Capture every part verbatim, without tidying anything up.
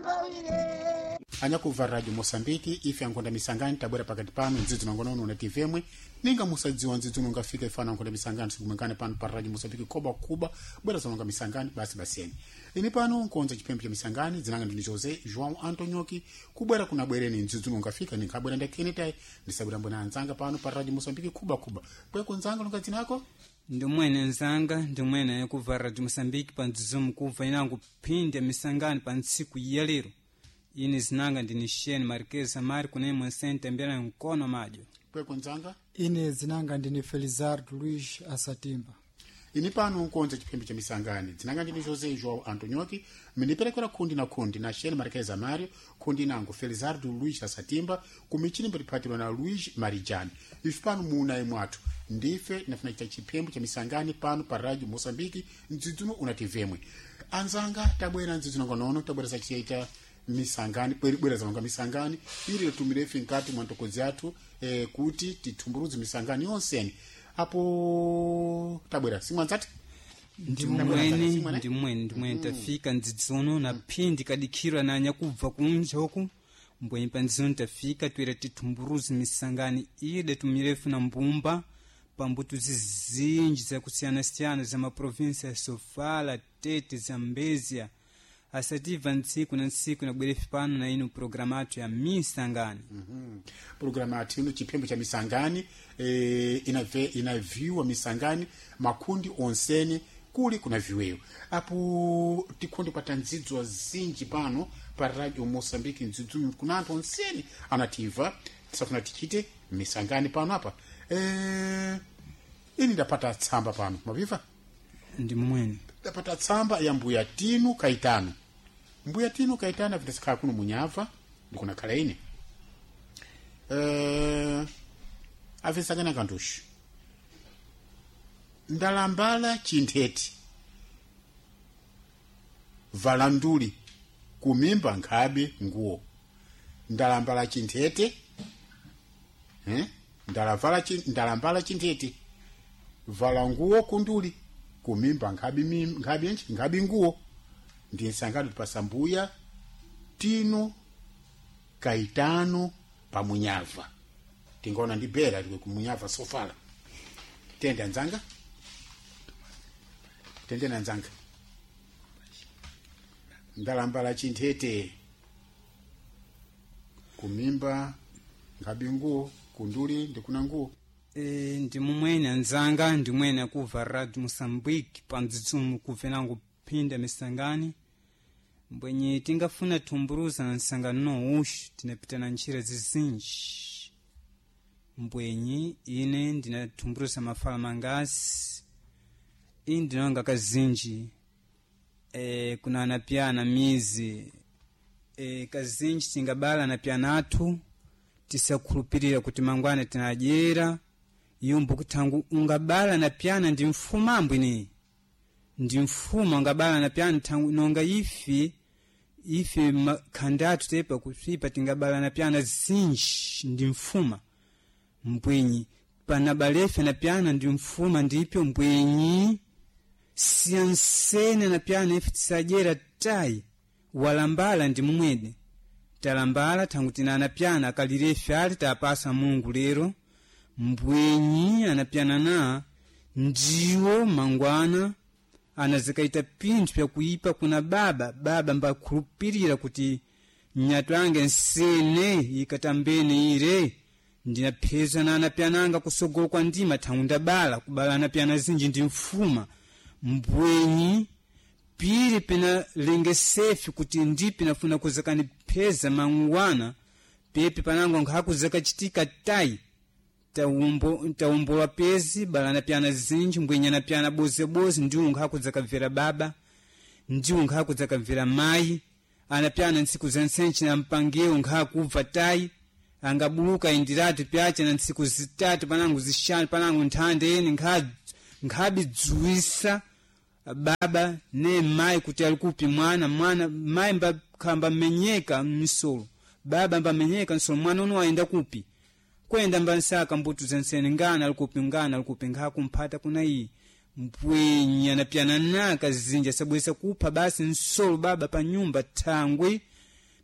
mbawire. Anyakuva Radio Moçambique, ife ankhonda misangani tabwera pakati pano ndzidzi nongonono na T V emwe ninga musadziwa ndzidzi unongafika ifana ankhonda misangani sikumwekane pano pa Radio Moçambique koba kuba bwera zononga misangani basi basiyeni. Ini pano nkonza chipembe cha misangani dzinanga ndini José João Antonioki kubwera kuna bwereni ndzidzi unongafika ninkabwera ndakenetai ndisabwera mbona anzanga pano pa Radio Moçambique kuba kuba kweko nzanga longa dzinako. Ndimwene nzanga, ndimwene yakuva Radio Moçambique pa mdzidzimu kubva inango phindi ya misangano pa ntsiku ya lero. Ine zinanga ndini Shane Marquez Amari kunemwe nsente mbela nkono madyo. Kweko nzanga. Ine zinanga ndini Felizardo Luiz Asatimba. Ini pano nkonza chipembe cha misangani dzinanga ndini José João Antonioki miniperekera kundi na kundi na Shane Marquez Amario kundi nango Felizardo Luiz Asatimba kumichini mbatipatirwa na Luiz Marijani. Ife pano munayi mwathu ndife tinafuna chita chipembe cha misangani pano pa Radio Moçambique mdzidzuno unativemwe. Anzanga tabwera mdzidzuno ngonono tabwera sachiita misangani bwera zalonga misangani ili tumire ife nkati mwa ntokozi athu eh, kuti tithumburuze misangani yonseni apo tabwera simwanzati. Ndimwene, ndimwene, ndimwene tafika mdzidzuno na phindi kadikhirwa na anyakubva kunja uku mbwenyi pa mdzidzuno tafika twera tithumburuze misangani ide tumirefu na mbumba pambuto zizinji zakusiyana-siyana za maprovinsi ya Sofala, Tete, Zambezia asativa ntsiku na ntsiku nabwerefi pano na ino programa athu ya misangani. Mm -hmm. Programa athu ino chiphembo cha misangani e, inave, inaviwa misangani makundi onsene kuli kuna viweyo apo tikhonde kwata ndzidzo zinji pano pa Radio Moçambique ndzidzo kuna anthu onsene anativa tisafuna tichite misangani pano apa e, ini ndapata tsamba pano maviva. Ndi mwene ndapata tsamba ya mbuya Tinu Kaitano. Mbuya Tinu Kaitano avitasakhala kuno munyava ndikunakhala ine uh, avisangana kantuxu ndalambala chinthete valanduli kumimba nkhabe nguwo. Ndalambala chinthete eh? ndalavala chi, ndalambala chinthete vala nguwo kunduli kumimba nkhabi nkhabi nchi nkhabi nguwo. Ndi nsangano tipasa mbuya Tino Kaitano pamunyava tingaona ndi bera likwe kumunyava Sofala. Tende anzanga, tende na nzanga. Ndalambala chinthete kumimba nkhabi nguwo kunduli ndikuna nguwo. E, ndi mumwene anzanga, ndimwene akuva Radio Moçambique pa mdzidzumu kubvenango phinda misangani mbwenye tingafuna thumburuza na nsangano nouxi tinapita na ntchira zizinji mbwenye ine ndinathumburuza mafala mangasi ini ndinonga kazinji e, kuna anapyana mizi e, kazinji tingabala anapyana athu tisakhulupirira kuti mangwana tinadyera yombo kuthangu ungabala na pyana ndi mfuma ambwini ndi mfuma ungabala na pyana thangu nonga ife ife khandatu tepa kusvipa tingabala na pyana zinji ndi mfuma mbwenyi panabalefe na pyana ndi mfuma ndipyo mbwenyi siyansene na pyana ife tisadyera tayi walambala ndi mumwene talambala thangu tina anapyana akalirefe ali tapasa Mungu lero mbwenyi anapyana na ndiwo mangwana anazikaita pinthu pyakuipa kuna baba baba mbakhulupirira kuti nyatu ange nsene ikatambene ire ndinapheza na anapyananga kusogolo kwa ndima thangu ndabala kubala anapyana zinji ndi mfuma mbwenyi pili pina lengesefi kuti ndipi nafuna kuzakanipheza mangwana pepi panango nkhakuzakachitika tayi taumbo taumbola pezi balana pyana zinji mbwenyana pyana bozeboze ndiwo nkhakudzakabvera baba ndiwo nkhakudzakabvera mayi anapyana ntsiku za ntsenchi na mpangewo nkhakubva tayi angabuluka indiratu pyacha na ntsiku zitatu panango zixanu panango nthanda eni nkhabidziwisa baba ne mayi kuti ali kupi mwana mwana mayi mbakhamba menyeka mmisolo baba mbamenyeka msolo mwana uno ayenda kupi kwenda mbansaka mbuto zensene ngana alikupi ngana alikupi nkhakumphata kuna iyi mpwenya napyana naka zinja sabwesa kupha basi nsolo baba pa nyumba thangwi.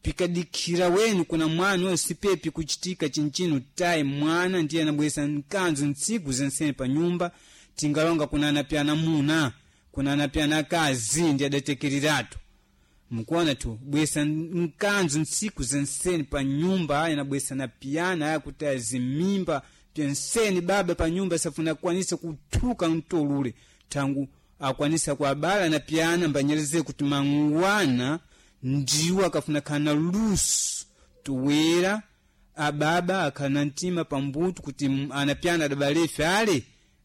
Pikadikira wenu kuna mwana oyo sipepi kuchitika chinchino tayi mwana ndiye anabwesa mkanzo ntsiku zensene pa nyumba. Tingalonga kuna anapyana muna kuna anapyana akazi ndi adatekereratu. Mukuona tu bwesa mkanzo ntsiku zensene pa nyumba, aya nabwesa na piyana aya kutaya zimimba pyensene baba pa nyumba safuna kukwanisa kuthuka mtolule tangu akwanisa kuabala na piyana mbanyereze kuti mangwana ndiwo akafuna khana luso tuwera ababa akhana mtima pambutu kuti anapyana adabalefe ale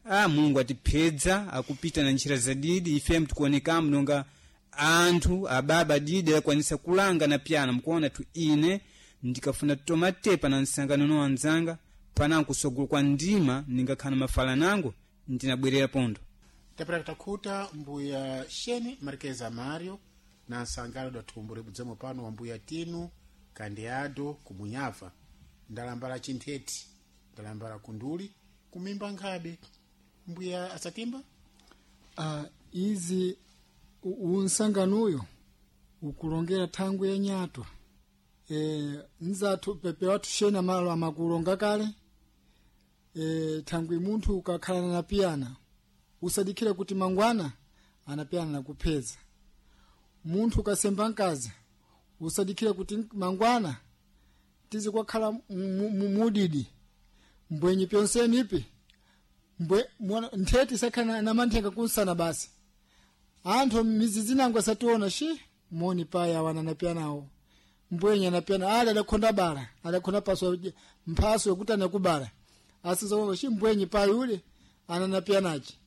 a Mulungu atiphedza akupita na ntchira zadidi ife mtikuonekamu nonga anthu ababa didi akwanisa kulanga na pyana. Mukuona tu ine ndikafuna tomatepa na nsangano no anzanga panango kusogolo kwa ndima ningakhana mafala nango ndinabwerera pondo. Tapera takhuta mbuya Sheni Marquez Mario na nsangano da thumbo libudzemo pano wa mbuya Tinu Kandiado kumunyafa ndalambala chintheti ndalambala kunduli kumimba nkhabe. Mbuya Asatimba, uh, izi unsanganuyo ukulongera thangwi ya nyatwa e, nzathu pepe wathu shena malo amakulonga kale e, thangwi munthu ukakhala na piyana usadikhire kuti mangwana anapiyana nakupheza. Munthu ukasemba mkazi usadikhire kuti mangwana tizikwakhala mudidi mbwenyi pyonseni ipi mbwe mwana ntheti sakhala na manthenga kunsana basi. Anthu mizizi nango asationa shi moni paya wana napiyanawo mbwenyi anapiyana ali adakhonda bala adakhonda paso mphaso yokuti anakubala asizokonga shi mbwenyi paya ule ananapiyanachi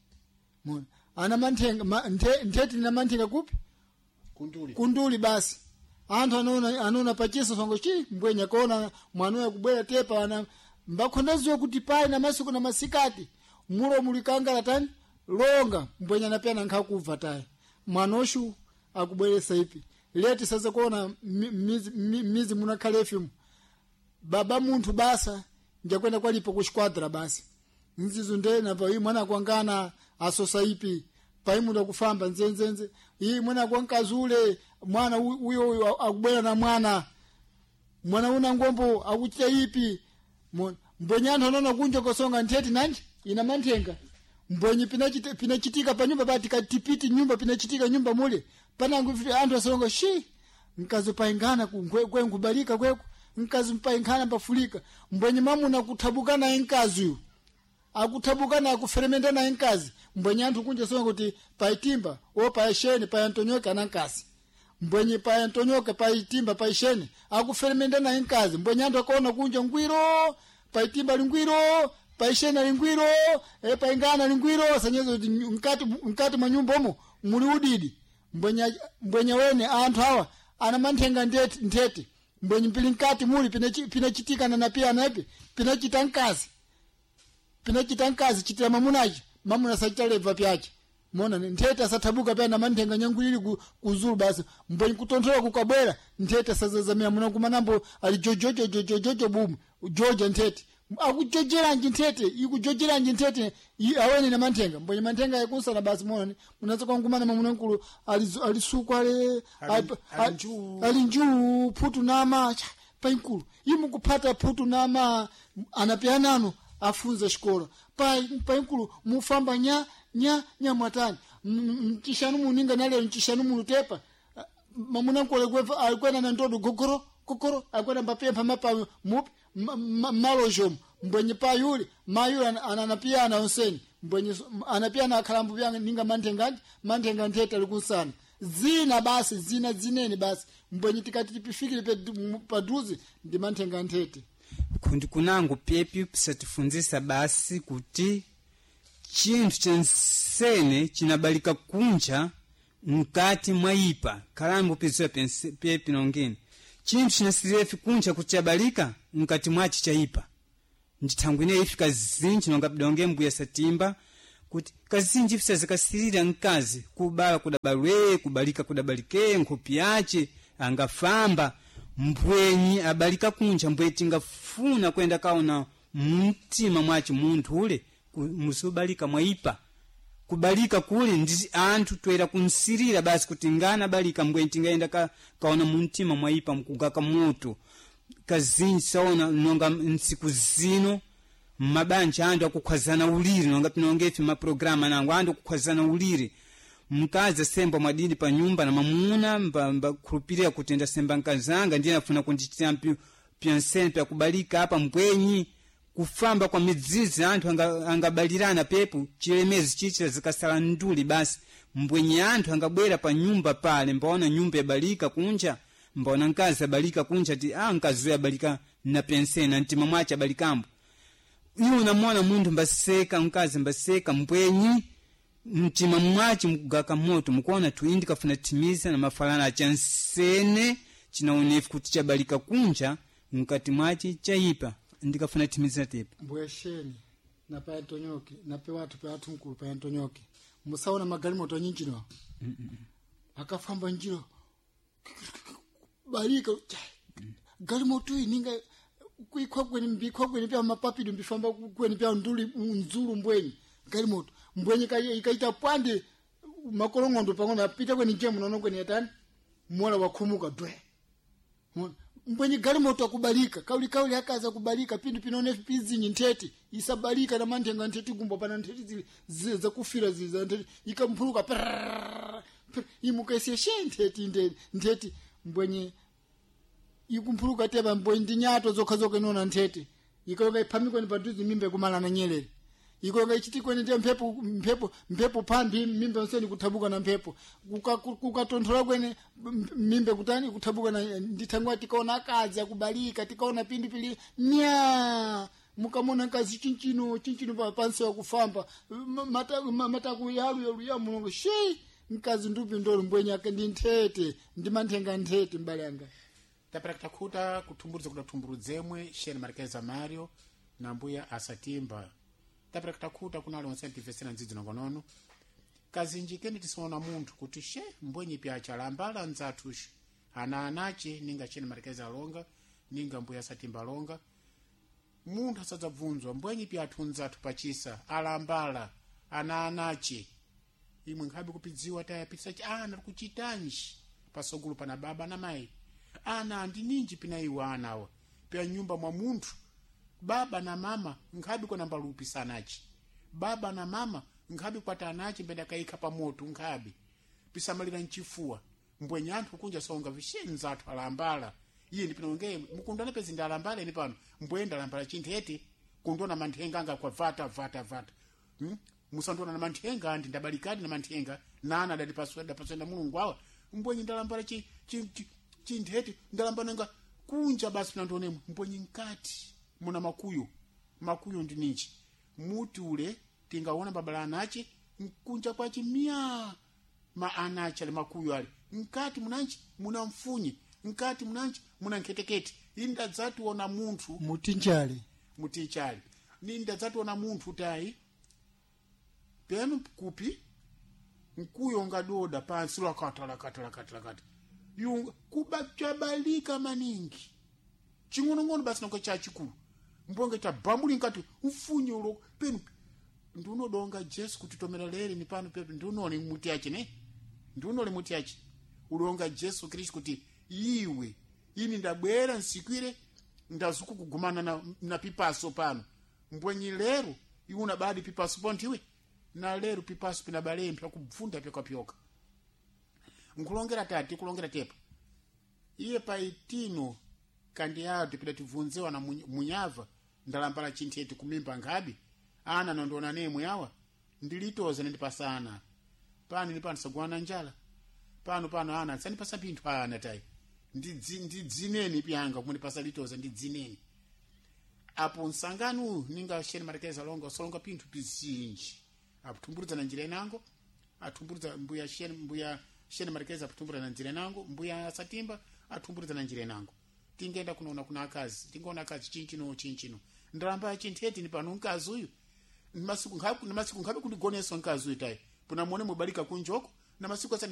mona ana manthenga ma, nthe, ntheti na manthenga kupi kunduli kunduli basi. Anthu anaona anaona pachiso songo chi mbwenyi akaona mwana yakubwera tepa ana mbakhonda ziwa kuti pai na masiku na masikati mulo mulikangala tani longa mbwenyi anapiyana nkhakuva tayi mwanoshu akubweresa ipi leti sasa kuona mizi, mizi munakhale ifimu baba munthu basa njakwenda kwalipo kuxikwadra basi nzizo ndena pa iyi mwana kwangana asosa ipi pai muda kufamba nzenzenze iyi mwana kwankazule mwana uyo uyo akubwera na mwana mwana una ngombo akuchita ipi mbwenyi anthu anaona kunja kosonga ntheti nanji ina manthenga mbwenyi pinachitika pinachitika pa nyumba pati katipiti nyumba pinachitika nyumba mule panangu anthu asonga shi mkazi paingana kwenkubalika kweko mkazi mpaingana pafulika mbwenyi mamuna kuthabuka naye mkazi uyu akuthabuka naye akuferemenda naye mkazi mbwenyi anthu kunja songa kuti paitimba o paisheni payantonyoke ana mkazi mbwenyi payantonyoke paitimba paisheni akuferemenda naye mkazi mbwenyi anthu akaona kunja ngwiro paitimba lingwiro paishena lingwiro e, paingana lingwiro sanyezo kuti mkati mkati mwa nyumba umo muli udidi mbwenya mbwenya wene anthu awa ana manthenga ndeti nthete mbwenyi mpili mkati muli pinachitika na napiyana ipi pinachita mkazi pinachita mkazi chitira mamunachi mamuna sachita lebva pyache mona nthete asathabuka pya na manthenga nyangu ili kuzulu basi mbwenyi kutonthola kukabwera nthete asazazamira muna kumanambo ali jojojojojojo bumu joja nthete akujojeranji nthete ikujojeranji nthete awene na manthenga mbwenye manthenga yakunsana basi mona munatsa kwangumana mamuna nkulu alisukwa ale ali njuu phutu nama painkulu imukuphata phutu nama anapianano afunza xikola painkulu mufamba nya nya nya mwatani mchishanu muninga nalero mchishanu munutepa mamuna nkulu alikwena na ndodo gogoro gogoro alikwena mbapempha mapa mupi malojomu mbwenye payuli mayuli ananapiyana onseni mbwenye anapiyana akhalambo pyanga ninga manthenganji manthenga nthete ali kunsana zina basi zina zinene basi mbwenye tikati tipifikire paduze ndi manthenga nthete kundi kunango pepi pisatifunzisa basi kuti chinthu chensene chinabalika kunja mkati mwa ipa khalambo piziwa pepi nongeni chinthu chinasirefi kunja kuti chabalika mkati mwachi chaipa ndithangwi ineyi ifi kazinji nonga bidonge mbuya satimba kuti kazinji ife sazikasirira mkazi kubala kudabalwe kubalika kudabalike nkhopi yace angafamba mbwenyi abalika kunja mbwe tingafuna kwenda kaona mumtima mwace munthu ule musubalika mwaipa Kubalika kuli ndi anthu toera kunsirira basi kuti ngana balika mbweni tingaenda ka, kaona muntima mwaipa mkugaka moto. Kazinji saona nonga ntsiku zino mabanja anthu akukhwazana ulire, nonga pinongefe maprograma anango anthu akukhwazana ulire. Mkazi asemba mwadidi pa nyumba na mamuna mbakhulupirira kuti ndasemba nkazanga ndiye afuna kundichitira pyansene pyakubalika apa mbwenyi kufamba kwa midzizi anthu angabalirana anga pepo chilemezi chichira zikasala nduli basi. Mbwenyi anthu angabwera pa nyumba pale mbaona nyumba yabalika kunja, mbaona mkazi abalika kunja ti ah mkazi uyo abalika na pensena na mtima mwache abalikambo. Iwe unamwona munthu mbaseka mkazi mbaseka mbwenyi mtima mwache mkugaka moto mukuona tu indi kafuna timiza na mafalana achansene chinaonefu kuti chabalika kunja mkati mwache chaipa ndikafuna timiza tepo. Mbwesheni na pa Antonyoke na pe watu pe watu mkulu pa Antonyoke musaona magalimoto nyinjino mm -mm. Akafamba njiro balika galimoto ininga kuikwa kweni mbikwa kweni pya mapapidu mbifamba kweni pya nduli nzulu mbweni galimoto mbwenye ikaita pwande makolongondo pang'ono apita kweni nje munono kweni yatani mola wakhumuka dwe mbwenye galimoto akubalika kauli kauli akaza kubalika pindu pinone pizinyi nthete isabalika na manthenga nthete gumbo pana nthete zili zakufira zili za nthete ikamphuluka imukaisiye she nthete nthete nthete mbwenye ikumphuluka teba mbwenye ndi nyato zokha zokha inona nthete ikalonga iphamikweni paduzi mimba ikumala na nyelele ikonga ichitikweni ndiye mphepo mphepo mphepo phambi mimba yonseni kuthabuka na mphepo kukatonthola kwene mimba kutani kuthabuka na ndithangwa tikaona akazi akubalika tikaona pindu pili nya mukamona nkazi chinchino chinchino pa pansi wakufamba mataku yalu yalu ya mulungu shei mkazi ndupi ndolo mbwenya ndi nthete ndi manthenga nthete mbale yanga. Tapera kutakhuta kuthumburuza kudathumburudzemwe Sheni Marquez Mario na mbuya Asatimba. Tapera kutakhuta kunali onse ntifesera ndzidzi nongonono. Kazinji keni tisaona munthu kuti she mbwenyi pyacha lambala nzathuxu ana anache ninga Sheni Marquez alonga ninga mbuya Asatimba alonga. Munthu asadzabvunzwa mbwenyi pyathu nzathu pachisa alambala ana anache imwe nkhabe kupidziwa tayapitisa ana kuchitanji pasogolo pana baba na mayi ana andi ninji pina iwo anawa pya nyumba mwa munthu baba na mama nkhabe kwana mbalupi sanachi baba na mama nkhabe kwata anachi mbenda kaikha pa moto nkhabe pisamalira mchifuwa mbwenye anthu kunja songa vishe nzathu alambala iye ndi pino ngeye mukundana pezi ndalambala ine pano mbwenye ndalambala chinthete kundona manthenga anga kwa vata vata vata hmm? Musandona na manthenga andi ndabalikadi na manthenga nana adalipaswa dapaswa na Mulungu awa mbwenye ndalambala chi, chi, chi chinthete ndalambana kunja basi pinandionemwe mbwenye nkati muna makuyo makuyo ndi ninji muti ule tingaona babala anache nkunja kwache miya ma anache ali makuyo ali nkati munanchi muna mfunyi nkati munanchi muna nkhetekete indadzationa munthu mutinjale mutichali nindadzationa munthu tayi penu kupi nkuyo ngadoda pansi lakata lakata lakata lakata yunga kubachabalika maningi ching'onong'ono basi nonga chachikulu mbonge tabambuli nkati mfunye ulo penu ndiunodonga Jesu kuti tomera lere ni pano pepe ndiunole muti yache ne ndiunole muti yache ulonga Jesu Kristu kuti iwe ini ndabwera nsikwire ndazuku kugumana na, na pipaso pano mbwenyi lero iwe unabadi pipaso pontiwe na lero pipaso pinabalempya kubvunda pyokapyoka nkulongera tati kulongera tepa iye paitino kandi yatu pidatibvunzewa na munyava ndalambala chinthete kumimba nkhabe ana nondiona nemwe awa ndilitoza nendipasana pano ni pano sagwana njala pano pano ana sandipasa pinthu ana tayi ndidzineni pyanga kumundipasa litoza ndidzineni apo msangano uyu ninga Sheni Marquez alonga usolonga pinthu pizinji akutumburuza na njira inango atumburuza mbuya Sheni mbuya Sheni Marquez akutumburuza na njira inango mbuya Satimba atumburuza na njira inango tingenda kunoona kuna akazi tingoona akazi chinchino chinchino ndalamba chintheti ni pano mkazi uyu masiku nkhabe masiku nkhabe kundigoneso mkazi uyu tayi puna muone mubalika kunjoko na masiku asani